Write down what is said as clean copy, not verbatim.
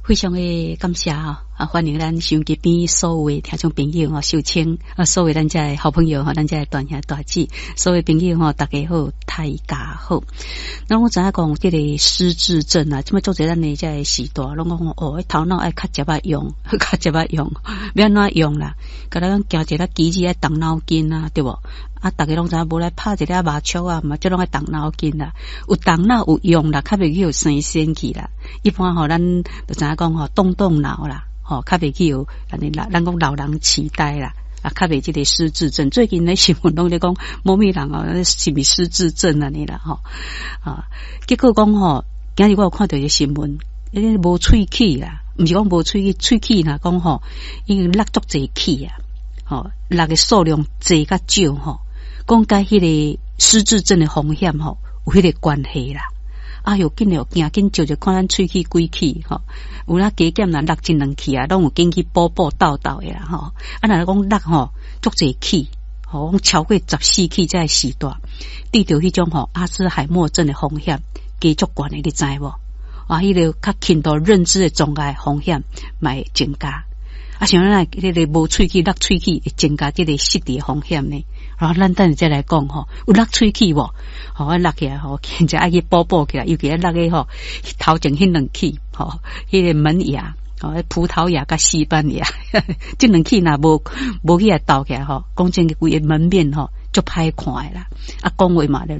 非常的感謝吼，啊，歡迎咱收音機邊所有的聽眾朋友吼，秀清啊，所有咱遮的好朋友吼，咱遮的大兄大姊，所有朋友吼，大家好，大家好。那我知影講這个失智症啊，這擺做者咱的遮个時代，攏講哦，頭腦愛較捷仔用，較捷仔用，欲按怎用啦？敢若講行一个機子愛動腦筋啊，對無？啊，逐家攏知影無來拍一个麻將啊，嘛這攏愛動腦筋啦。有動腦有用啦，較袂去予生仙去啦。一般吼，咱就知影講吼，動動腦啦，吼，較袂去予按呢老，咱講老人癡呆啦，啊，較袂這个失智症。最近咧新聞攏咧講某物人哦，是毋是失智症按呢啦？吼啊，結果講吼，今日我有看著一个新聞，彼個無喙齒啦，毋是講無喙齒，喙齒若講吼，已經落足濟齒啊，吼，落的數量濟較少吼，講佮彼个失智症的風險吼，有彼个關係啦。哎喲，緊了驚緊照著看咱喙齒幾齒吼，有影加減若落一兩齒啊，攏有緊去補補鬥鬥的啦吼。啊，若講落吼足濟齒，吼，講超過14齒才會時代，得著彼種吼阿茲海默症的風險加足懸的，你知無？啊，彼个較輕度認知的障礙風險嘛會增加。啊，像咱彼个無喙齒、落喙齒會增加這个失智的風險呢？然後咱等下再來講吼，有落喙齒無？吼，我落起來吼，現在愛去補補起來，尤其落個吼頭前彼兩齒吼，彼个門牙，吼，葡萄牙佮西班牙，這兩齒若無無去來鬥起來吼，講真個規个門面吼足歹看的啦。啊，講話嘛咧，